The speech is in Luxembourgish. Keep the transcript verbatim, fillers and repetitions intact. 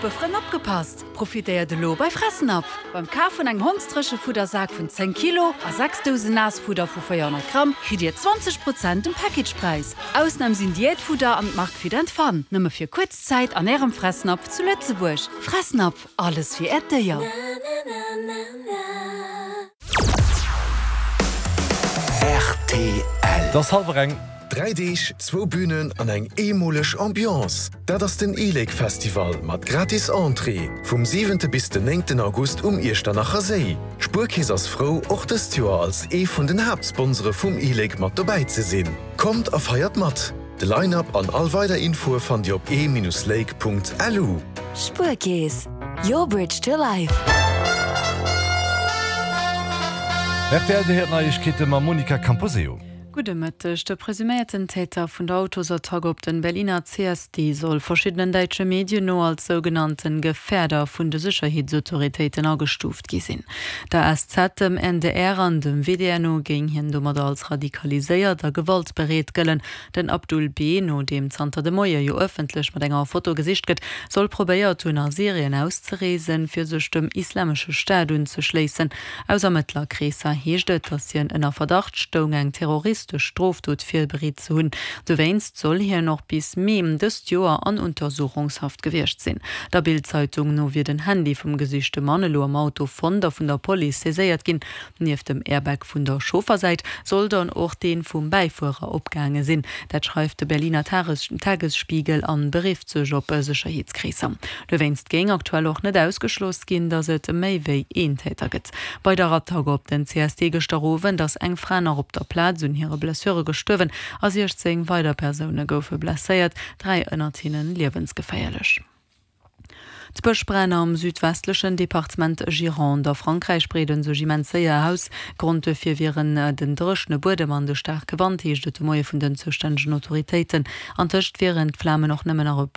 Muppefrënn opgepasst! Profitéiert elo bei Fressnapf! Beim Kaf vun engem Hondsdréchefuddersak vun zéng Kilo a sechs Dousen Naassfudder vu véierhonnert Gramm kritt Dir zwanzeg Prozent um Packagepräis. Ausnam sinn Diätfudder an d'Mark Fit and Fun. Nëmme fir kuerz Zäit an Ärem Fressnapf zu Lëtzebuerg. Fressnapf, alles fir Äert Déier. Rtl. Et ass hallwer eng. Dräi Deeg, zwou Bünen an eng eemoleg Ambiance, dat ass den e-Lake Festival mat gratis Entrée vum siwente bis den néngten August um Iechternacher Séi. D'Spuerkeess ass frou, och dëst Joer als ee vun den Haaptsponsore vum e-Lake mat dobäi ze sinn. Kommt a feiert mat! De Line-Up an all weider Infoe fannt Dir op e-lake.lu. Spuerkeess, your bridge to life. Rtl, Dir héiert d'Neiegkeete mam Monica Camposeo. Gudde Mëtteg. De presuméierten Täter vun der Autosattack op den Berliner C S D soll verschiddenen däitsche Medien no als sougenannten Gefährder vun de Sécherheetsautoritéiten agestuuft gi sinn. Der S Z, dem N D R an dem W D R no géing hien domadder als radikaliséiert a gewaltbereet gëllen. Den Abdul B., no deem zanter de Moie jo ëffentlech mat enger Foto gesicht gëtt, soll probéiert hunn a Syrien auszereesen, fir sech dem Islamesche Staat unzeschléissen. Aus Ermëttlerkreesser heescht et, datt hien ënner Verdacht stoung, eng terroristesch Strofdot virbereet ze hunn. Dowéinst soll hien och bis Mee dëst Joer an Untersuchungshaft gewiescht sinn. Der Bild-Zeitung no wier den Handy vum gesichte Mann elo am Auto fonnt a vun der Police saiséiert ginn. Nieft dem Airbag vun der Chauffersäit soll dann och dee vum Bäifuerer opgaange sinn. Dat schreift de Berliner Tagesspiegel an berifft sech op Sécherheetskreesser. Dowéinst géing aktuell och net ausgeschloss ginn, datt et méi wéi een Täter gëtt. Bei der Attack op den C S D gëschter Owend ass eng Fra nach op der Plaz un hire Blessure gestuerwen a siechzéng weider Persoune goufe blesséiert, dräi ënnert hinnen liewensgeféierlech. D'Bëschbränn am südwestlechen Departement Gironde a Frankräich breede sech immens séier aus. Grond duerfir wieren den dréchene Buedem an de staarke Wand, heescht et de Moie vun den zoustännegen Autoritéiten. Antëscht wieren d'Flamen och nëmmen nach e